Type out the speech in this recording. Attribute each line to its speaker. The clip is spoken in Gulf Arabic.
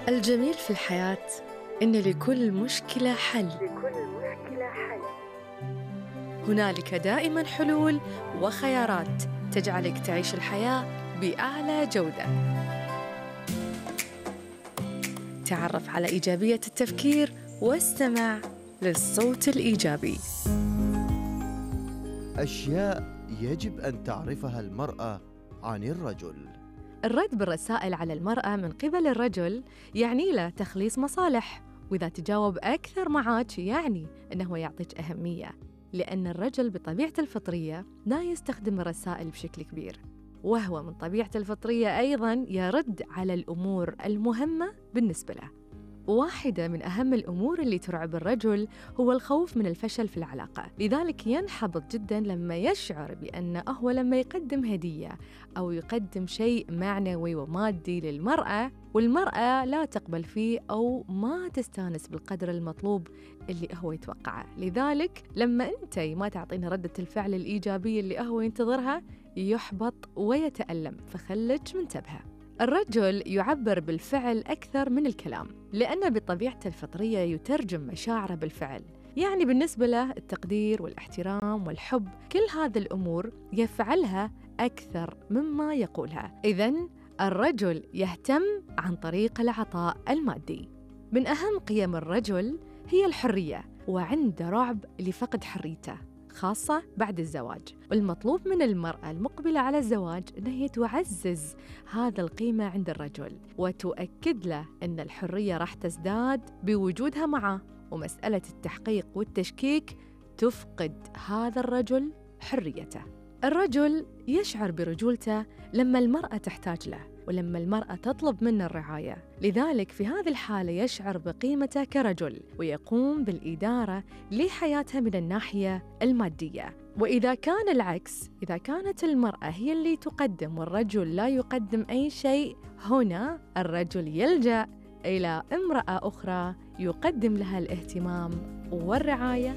Speaker 1: الجميل في الحياة إن لكل مشكلة حل. هنالك دائماً حلول وخيارات تجعلك تعيش الحياة بأعلى جودة. تعرف على إيجابية التفكير واستمع للصوت الإيجابي.
Speaker 2: أشياء يجب أن تعرفها المرأة عن الرجل.
Speaker 1: الرد بالرسائل على المرأة من قبل الرجل يعني له تخليص مصالح، وإذا تجاوب أكثر معك يعني أنه يعطيك أهمية، لأن الرجل بطبيعته الفطرية لا يستخدم الرسائل بشكل كبير، وهو من طبيعته الفطرية أيضاً يرد على الأمور المهمة بالنسبة له. واحدة من أهم الأمور اللي ترعب الرجل هو الخوف من الفشل في العلاقة، لذلك ينحبط جداً لما يشعر بأنه هو لما يقدم هدية أو يقدم شيء معنوي ومادي للمرأة والمرأة لا تقبل فيه أو ما تستانس بالقدر المطلوب اللي هو يتوقعه. لذلك لما أنت ما تعطينا ردة الفعل الإيجابية اللي هو ينتظرها يحبط ويتألم، فخلك منتبهة. الرجل يعبر بالفعل أكثر من الكلام، لأنه بطبيعته الفطرية يترجم مشاعره بالفعل، يعني بالنسبة له التقدير والاحترام والحب كل هذه الأمور يفعلها أكثر مما يقولها. إذن الرجل يهتم عن طريق العطاء المادي. من أهم قيم الرجل هي الحرية، وعنده رعب لفقد حريته خاصة بعد الزواج، والمطلوب من المرأة المقبلة على الزواج أنها تعزز هذا القيمة عند الرجل وتؤكد له أن الحرية راح تزداد بوجودها معه، ومسألة التحقيق والتشكيك تفقد هذا الرجل حريته. الرجل يشعر برجولته لما المرأة تحتاج له ولما المرأة تطلب منه الرعاية، لذلك في هذه الحالة يشعر بقيمته كرجل ويقوم بالإدارة لحياتها من الناحية المادية. وإذا كان العكس، إذا كانت المرأة هي اللي تقدم والرجل لا يقدم أي شيء، هنا الرجل يلجأ إلى امرأة أخرى يقدم لها الاهتمام والرعاية